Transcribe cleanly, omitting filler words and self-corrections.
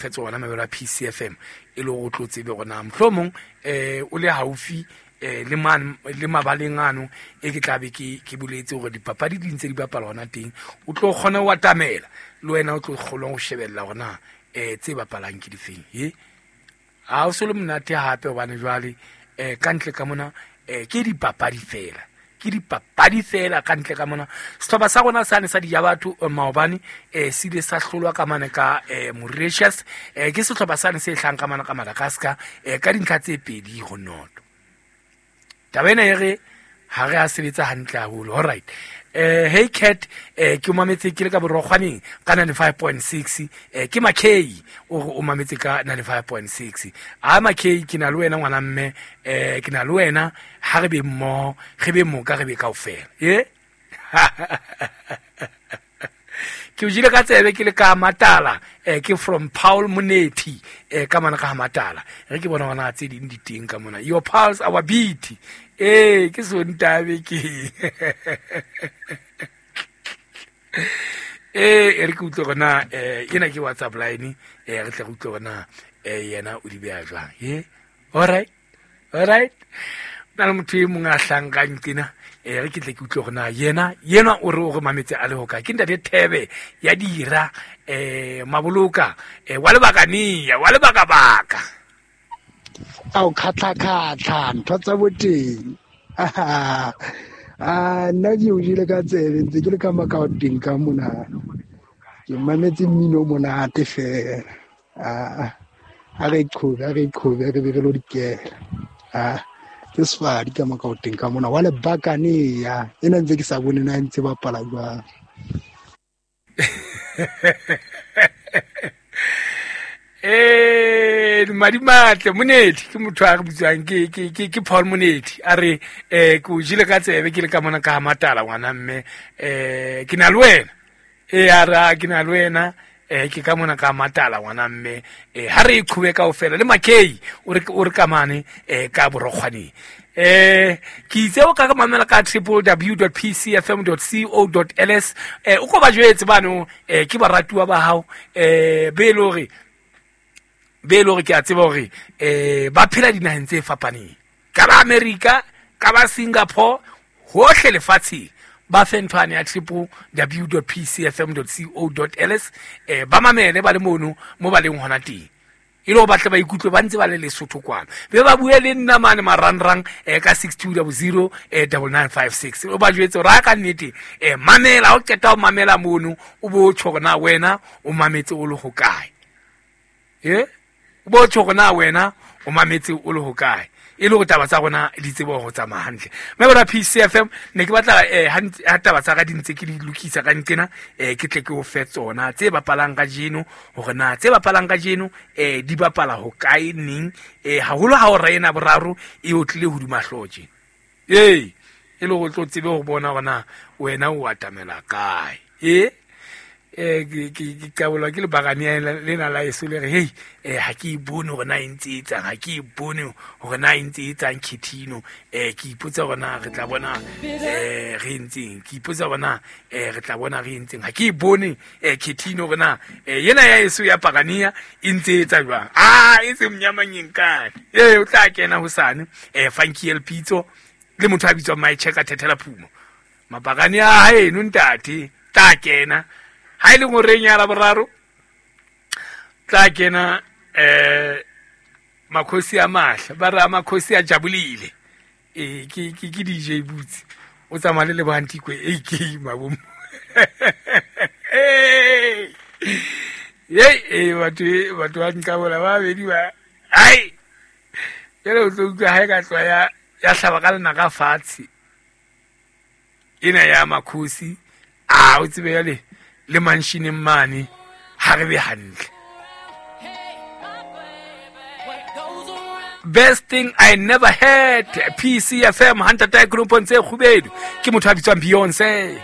Fe tsona mabelo a PCFM e le gore o tlo tsebe gore na mohlomong o le haufi le man le mabaleng ano e ke tlabe ke boletse gore dipapadi di ntse di bapala hona teng, o tlo kgona ho atamela le wena, o tlo kgona ho shebella gore na tse bapalang ke difeng. E ha o se le monate hape hobane jwale ka ntle ka mona ke dipapadi fela, ke dipapadi fela ka ntle ka mona. Sehlopha sa rona sane sa dija batho maobane se ile sa hlolwa ka mane ka Mauritius, ke sehlopha sane se hlang ka mane ka Madagascar ka dintlha tse 2-0. Taba ena e re ha re a sebetsa hantle haholo. All right. Hey cat, ke o mametse ke le ka borokgwaneng ka 95.6, ke Makay o re o mametse ka 95.6. A Makay, ke na le wena ngwana mme, ke na le wena, ha re be mmoho, re be moka, re be kaofela. E ke o jele ka tsebe ke le ka Matala, ke from Paul Monethi, ka mana ka Matala. Re ke bona ngwana tse ding di teng ka mona. Your pulse our beat. Ke Sontabe ke. E re ke utlwe gore na ena ke WhatsApp line, re tle re utlwe gore na yena o di beha jwang. E all right, all right. Na le motho e mongwe a hlankang tena, re ke tle ke utlwe gore na yena o re o re mametse a le ho kae. Ke ntate Thebe ya dira, Maboloka, wa lebakania, wa lebakabaka. Ao khatlha-khatlha, ntho tsa boteng. A nna ke o jele ka tsebe ntse ke le ka makaoteng ka mona. Ke mametse mmino o monate fela. A re qhobe, a re qhobe, re be re lo dikela. A ke sefadi ka makaoteng ka mona wa lebakane ya. Ena ntse ke sa bone na ntse bapala jwang. Madimatle Monethi ke motho a re bitswang ke Paul Monethi, a re ke o jele ka tsebe ke le ka mona ka Matala ngwana mme, ke na le wena. A re, a, ke na le wena, ke ka mona ka Matala ngwana mme, ha re e qhobe kaofela le Makay o re ka mane, ka borokgwaneng. Ke itse o ka re mamela ka triple w dot p c f m dot c o dot l s, o ko ba jwetse bano, ke baratuwa ba hao, be e le hore, be e le hore ke a tseba hore, ba phela dinaheng tse fapaneng, ka ba America, ka ba Singapore, hohle lefatsheng. Ba fe ntho ane ya triple w dot p c f m dot c o dot l s, ba mamele ba le mono mo ba leng hona teng, e le hore ba tle ba ikutlwe ba ntse ba le Lesotho kwana. Be ba bue le nna mane marangrang, ka six two double zero, double nine five six. O ba jwetse hore ha ka nnete, mamela, ha o qeta ho mamela mono, o bo tjho hore na wena o mametse o le hokae. O bo tjho hore na wena o mametse o le hokae, e le hore taba tsa rona di tsebe ho tsamaya hantle. Mme bona PCFM, ne ke batla, ha taba tsa ka di ntse ke di lokisa ka nqena, ke tle ke o fe tsona tse bapalang kajeno, hore na tse bapalang kajeno, di bapala hokae neng, haholo ha o rena boraro e o tlile hodima hlooho tje. E le hore o tlo tsebe ho bona hore na wena o atamela kae. Ke qabolwa ke lebakane lena la eso le re, hei, ha ke e bone hore na e ntse e etsang, ha ke e bone hore na e ntse e etsang Khethino. Ke ipotsa hore na re tla bona, re entseng, ke ipotsa hore na, re tla bona re entseng, ha ke e bone, Khethino hore na, yena ya eso ya Pakania e ntse e etsa jwang. A e se mnyamanyeng kae. O tla kena hosane, Funky El Pitso le motho a bitswang Mai Cheka Thethela Phumo. Mapakane a haeno ntate tla kena ha e le ngoreng ya Laboraro, tla kena, makhosi a mahla, ba re a makhosi a jabulile. Ke DJ Boots o tsamaya le Lebohang Tikwe, AK Mabomo. Hey, batho ba nqabola ba babedi ba. Hai. Jwale o tlo utlwa ha e ka tloha ya hlaba ka lenaka fatshe. Ena ya makhosi, a o tsebe jwale le manshineng mane ha re be hantle. Best thing I never heard, PCFM, Hunter Tycoon Ponce Kgubedu, ke motho a bitswang Beyonce.